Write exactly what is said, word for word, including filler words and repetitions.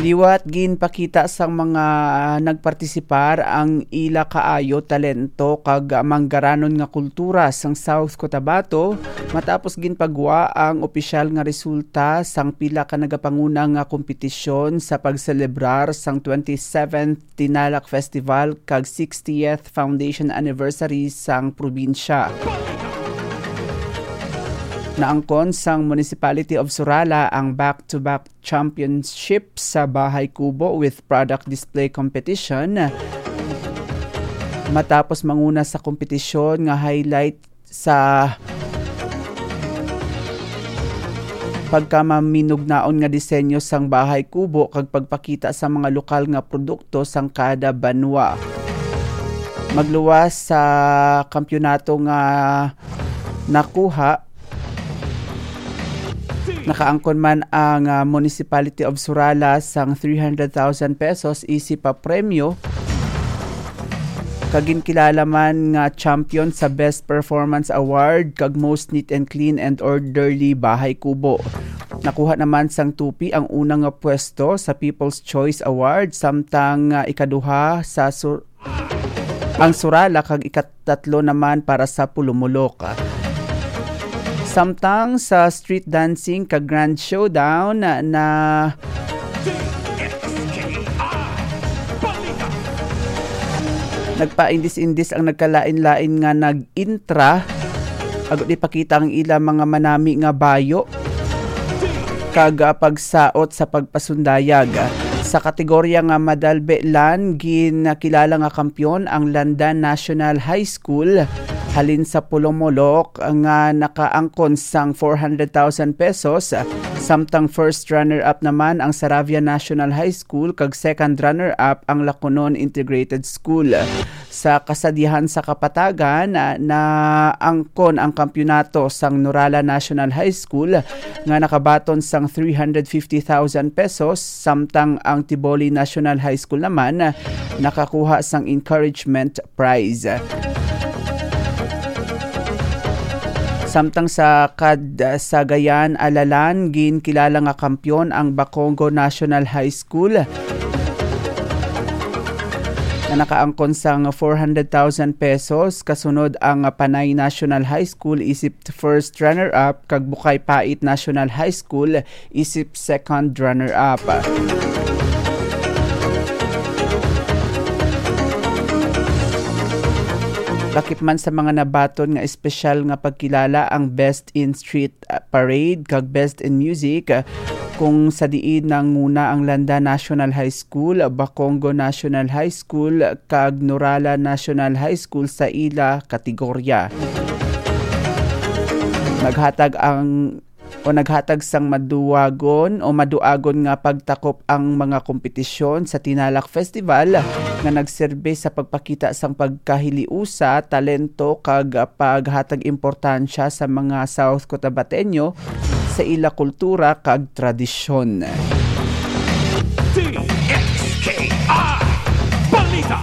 Liwat ginpakita sang mga nagpartisipar ang ila kaayo talento kag manggaranon nga kultura sang South Cotabato matapos ginpagwa ang opisyal nga resulta sang pila ka nagapanguna nga kompetisyon sa pagselebrar sang twenty-seventh Tinalak Festival kag sixtieth Foundation Anniversary sang probinsya. Naangkon sang Municipality of Surala ang back-to-back championship sa Bahay Kubo with product display competition. Matapos manguna sa kompetisyon nga highlight sa pagkamaminugnaon nga disenyo sang Bahay Kubo kag pagpakita sa mga lokal nga produkto sang kada banwa. Magluwas sa kampiyonato nga nakuha, nakaangkon man ang, ah, Municipality of Surala sang three hundred thousand pesos isip pa premyo. Kag ginkilala man nga champion sa Best Performance Award kag Most Neat and Clean and Orderly Bahay Kubo. Nakuha naman sang Tupi ang una nga pwesto sa People's Choice Award, samtang, ah, ikaduha sa Sur-, ang Surala kag ikatatlo naman para sa Pulumulok. Samtang sa street dancing kag grand showdown na, na nagpaindis-indis ang nagkalain-lain nga nag-intra, agud ipakita ang ila mga manami nga bayo kag, ah, pagsaot sa pagpasundayag. Sa kategorya nga madalbe lan, ginkilala nga kampiyon ang Landan National High School halin sa Pulumulok nga nakaangkon sang four hundred thousand pesos, samtang first runner-up naman ang Saravia National High School kag second runner-up ang Laconon Integrated School. Sa kasadyahan sa kapatagan, ah, naangkon ang kampiyonato sang Nurala National High School nga nakabaton sang three hundred fifty thousand pesos, samtang ang Tiboli National High School naman, ah, nakakuha sang encouragement prize. Samtang sa kad-, sa Gayan Alalan, ginkilala nga kampiyon ang Bacongo National High School nga nakaangkon sang four hundred thousand pesos. Kasunod ang Panay National High School isip first runner-up, kag Bukay Pait National High School isip second runner-up. Lakip man sa mga nabaton nga espesyal nga pagkilala ang Best in Street, ah, Parade kag Best in Music, ah, kung sa diin nanguna ang Landa National High School, Bacongo National High School, kag Nurala National High School sa ila kategorya. Naghatag ang, o naghatag sang maduwagon o maduagon nga pagtakop ang mga kompetisyon sa Tinalak Festival nga nagserbi sa pagpakita sang pagkahiliusa, talento, kag paghatag importansya sa mga South Cotabateño sa ila kultura kag tradisyon. D X K I Balita.